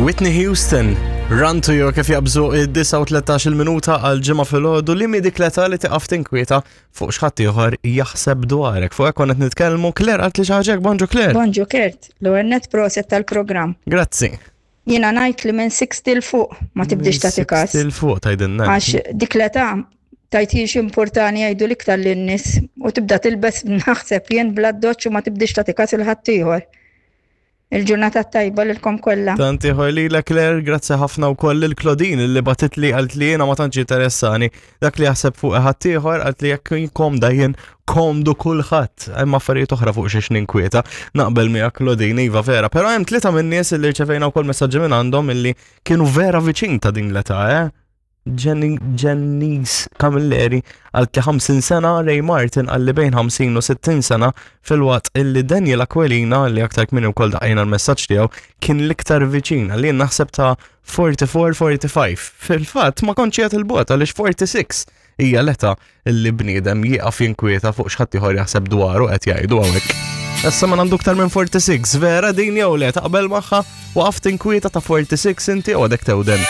Whitney Houston, Run to You kif jabżu id-9 minuta għal ġimgħa filgħodu li dik l-età li tiqaf tinkwieta fuq x'ħadd ieħor jaħseb dwarek. Fuq hekk konna qed nitkellmu Claire qalt li xi ħaġa bonġu Claire. Bonġu Kurt, l-ewwel net proset tal-programm. Grazzi. Jiena ngħid li minn 60 'l fuq ma tibdix tagħti każ. 60 'l fuq tgħidilna. Għax dik l-età tajt jien importani jgħidu l-iktar lin-nies u tibda tilbes naħseb jien bla doċ u ma tibdix tagħti każ il ħaddieħor. Il-ġurnata tajba lilkom kollha. Tant ieħor lilek Claire, grazzi ħafna wkoll lil Claudine li batit li qalt li jiena ma tantx interessani. Dak li jaħseb fuq ħaddieħor qalt li jekk komda jien komdu kulħadd. Hemm affarijiet oħra fuq xiex ninkwieta. Naqbel miegħek Claudine, iva vera. Però hemm tlieta min-nies li rċevejna wkoll messaġġi minn għandhom illi kienu vera viċin ta' din l-età, eh? Jennise Camilleri għal 50 sena, Ray Martin għal bejn 50 u 60 sena filwaqt illi Daniel Aquilina li aktar kmieni wkoll daqqejna l-messaġġ tiegħu kien l-iktar viċin għalli naħseb ta' 44-45. Fil-fatt ma kontx qiegħed il-bogħod għaliex 46 hija l-età illi bniedem jieqaf jinkwieta fuq x'ħadd ieħor jaħseb dwaru qed jgħidu hawnhekk. Issa ma għandu aktar minn 46, vera din jew le taqbel magħha waqaft tinkwieta ta' 46 inti u għadek tewden.